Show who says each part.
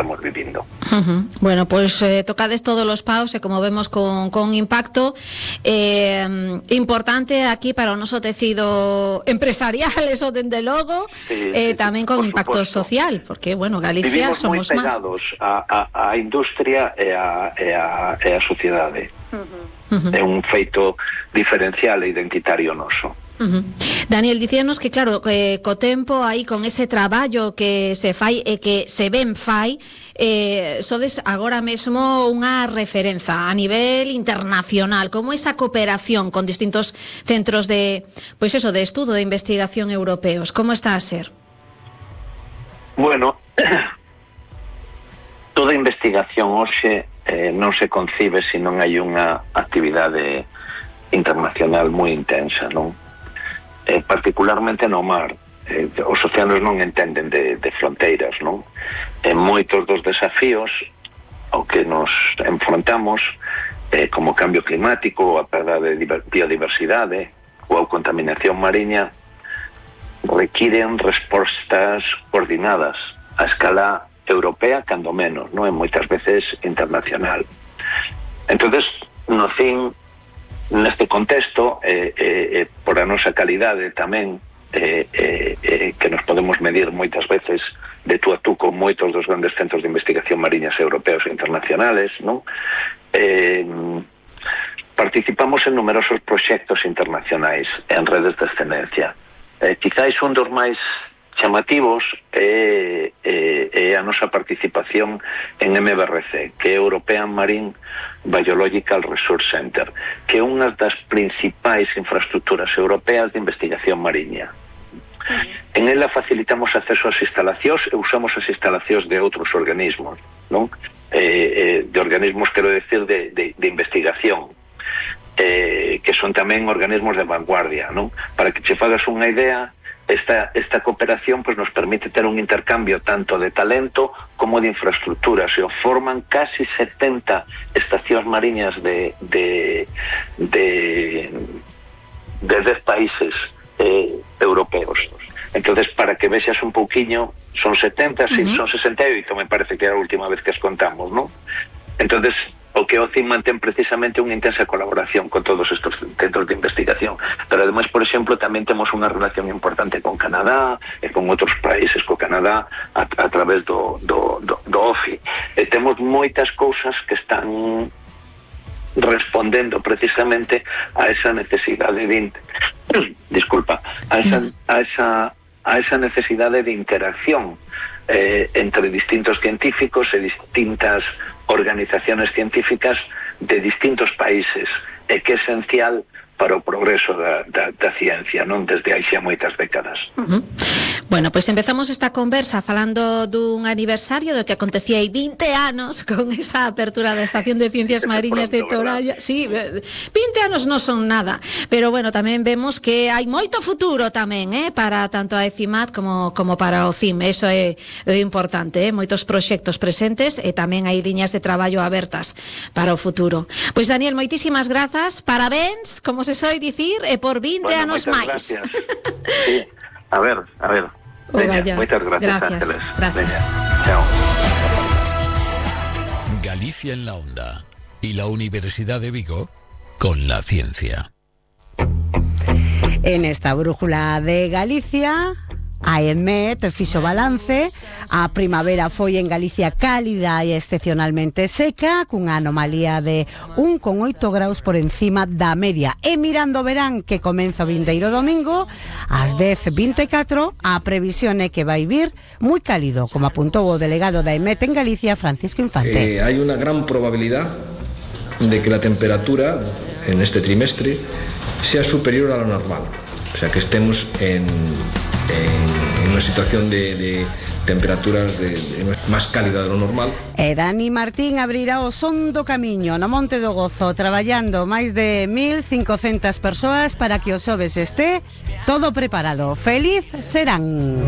Speaker 1: estamos vivindo.
Speaker 2: Bueno, pues tocades todos los paus e como vemos con impacto importante aquí para o noso tecido empresarial, eso dende logo, tamén con impacto social, porque, bueno, Galicia
Speaker 1: vivimos
Speaker 2: somos
Speaker 1: moi pegados á industria e á sociedade. É un feito diferencial e identitario noso.
Speaker 2: Daniel, dicíanos que claro, co tempo aí con ese traballo que se fai e que se ben fai, sodes agora mesmo unha referenza a nivel internacional, como esa cooperación con distintos centros de, pois eso, de estudo, de investigación europeos, como está a ser?
Speaker 1: Bueno, toda investigación hoxe non se concibe se non hai unha actividade internacional moi intensa, non? Particularmente no mar, os océanos non entenden de fronteiras, non? Moitos dos desafíos ao que nos enfrontamos, como o cambio climático, a perda de biodiversidade ou a contaminación mariña, requiren respostas coordinadas a escala europea, cando menos, non? E moitas veces internacional. Entonces, no fin, neste contexto, por a nosa calidade tamén, que nos podemos medir moitas veces de tú a tú con moitos dos grandes centros de investigación mariñas europeos e internacionales, non? Participamos en numerosos proxectos internacionais en redes de excelencia. Quizáis un dos máis chamativos é a nosa participación en MBRC, que é European Marine Biological Resource Center, que é unha das principais infraestructuras europeas de investigación mariña. En ela facilitamos acceso ás instalacións e usamos as instalacións de outros organismos, non? De organismos, quero decir, de investigación, que son tamén organismos de vanguardia, non? Para que che fagas unha idea, esta cooperación pues nos permite ter un intercambio tanto de talento como de infraestructuras, e forman casi 70 estacións mariñas de 10 países europeos. Entonces, para que vexas un pouquiño, son 70, sí, son 68, me parece que era a última vez que as contamos, ¿no? Entonces, o que OCIN mantén precisamente unha intensa colaboración con todos estos centros de investigación, pero ademais, por exemplo, tamén temos unha relación importante con Canadá e con outros países, co Canadá a través do OFI, e temos moitas cousas que están respondendo precisamente a esa necesidade de a esa necesidade de interacción entre distintos científicos e distintas organizaciones científicas de distintos países, e que é esencial para o progreso da ciencia, non, desde hai xa moitas décadas.
Speaker 2: Bueno, pois empezamos esta conversa falando dun aniversario do que acontecía hai 20 anos con esa apertura da Estación de Ciencias Mariñas de Toralla. Sí, 20 anos non son nada, pero bueno, tamén vemos que hai moito futuro tamén, para tanto a ECIMAD como para o CIM. Eso é importante, moitos proxectos presentes e tamén hai liñas de traballo abertas para o futuro. Pois Daniel, moitísimas grazas, parabéns, como se soe dicir, e por 20 anos máis.
Speaker 1: Sí. A ver. Veña, moitas gracias, Ángeles.
Speaker 2: Gracias.
Speaker 1: Veña, chao.
Speaker 3: Galicia en la onda y la Universidad de Vigo con la ciencia.
Speaker 4: En esta brújula de Galicia, a EMET fixo balance. A primavera foi en Galicia cálida e excepcionalmente seca, cunha anomalía de 1,8 graus por encima da media. E mirando o verán, que comeza o vindeiro domingo, ás 10:24, a previsión é que vai vir moi cálido, como apuntou o delegado da EMET en Galicia, Francisco Infante.
Speaker 5: Hay una gran probabilidad de que la temperatura en este trimestre sea superior a lo normal. O sea, que estemos en una situación de temperaturas más cálida de lo normal.
Speaker 4: E Dani Martín abrirá o Son do Camiño no Monte do Gozo, traballando máis de 1.500 persoas para que o xoves este todo preparado. Feliz serán.